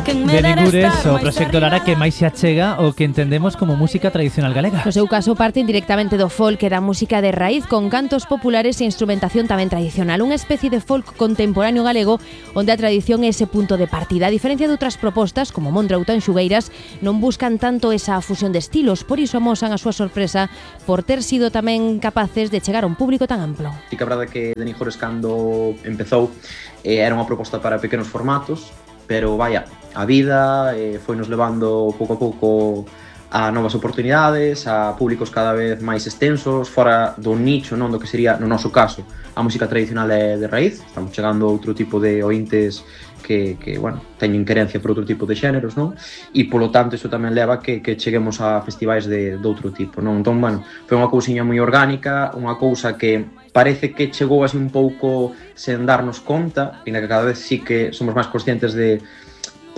De Ningures, o proxecto Lara que máis se achega o que entendemos como música tradicional galega. No seu caso parten directamente do folk e da música de raíz con cantos populares e instrumentación tamén tradicional, unha especie de folk contemporáneo galego onde a tradición é ese punto de partida. A diferencia de outras propostas como Mondra ou Tanxugueiras, non buscan tanto esa fusión de estilos, por iso amosan a súa sorpresa por ter sido tamén capaces de chegar a un público tan amplo. Sí que a verdade que De Ningures cando empezou era unha proposta para pequenos formatos, pero vaya, a vida foi nos levando pouco a pouco a novas oportunidades, a públicos cada vez máis extensos, fora do nicho, non do que sería, no noso caso, a música tradicional de raíz. Estamos chegando a outro tipo de ointes que bueno, teñen querencia por outro tipo de xéneros, non? E polo tanto iso tamén leva que cheguemos a festivais de outro tipo, non? Entón, bueno, foi unha cousiña moi orgánica, unha cousa que parece que chegou así un pouco sen darnos conta, e na que cada vez sí que somos máis conscientes de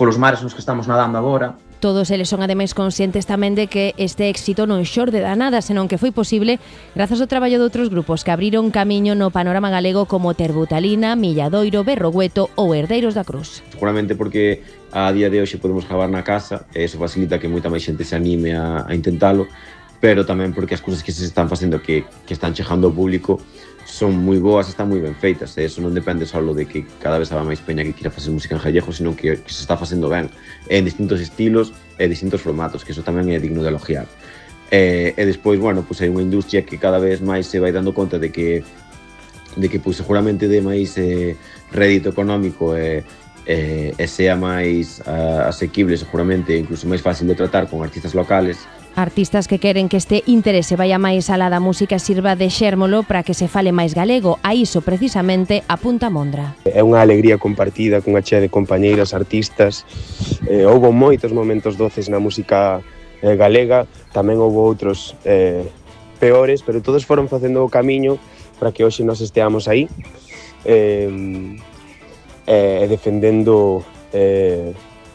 polos mares nos que estamos nadando agora. Todos eles son ademais conscientes tamén de que este éxito non xorde da nada, senón que foi posible grazas ao traballo de outros grupos que abriron camiño no panorama galego como Terbutalina, Milladoiro, Berrogueto ou Herdeiros da Cruz. Seguramente porque a día de hoxe podemos gravar na casa e iso facilita que moita máis xente se anime a intentalo, pero tamén porque as cousas que se están facendo que están chegando ao público son moi boas, están moi ben feitas, e iso non depende só de que cada vez habrá máis peña que quira facer música en gallego, sino que se está facendo ben en distintos estilos e distintos formatos, que iso tamén é digno de elogiar. E despois, bueno, hai unha industria que cada vez máis se vai dando conta de que seguramente dé máis rédito económico e sea máis asequible, seguramente, incluso máis fácil de tratar con artistas locales. Artistas que queren que este interese vaya máis alá da música e sirva de xérmolo para que se fale máis galego. A iso precisamente apunta Mondra. É unha alegría compartida cunha chea de compañeiras artistas. Houbo moitos momentos doces na música galega, tamén houbo outros peores, pero todos foron facendo o camiño para que hoxe nos esteamos aí defendendo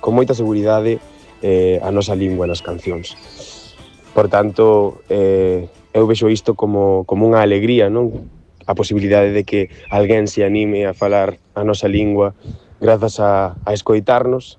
con moita seguridade a nosa lingua nas cancións. Por tanto, eu vexo isto como unha alegría, non? A posibilidade de que alguén se anime a falar a nosa lingua grazas a escoitarnos.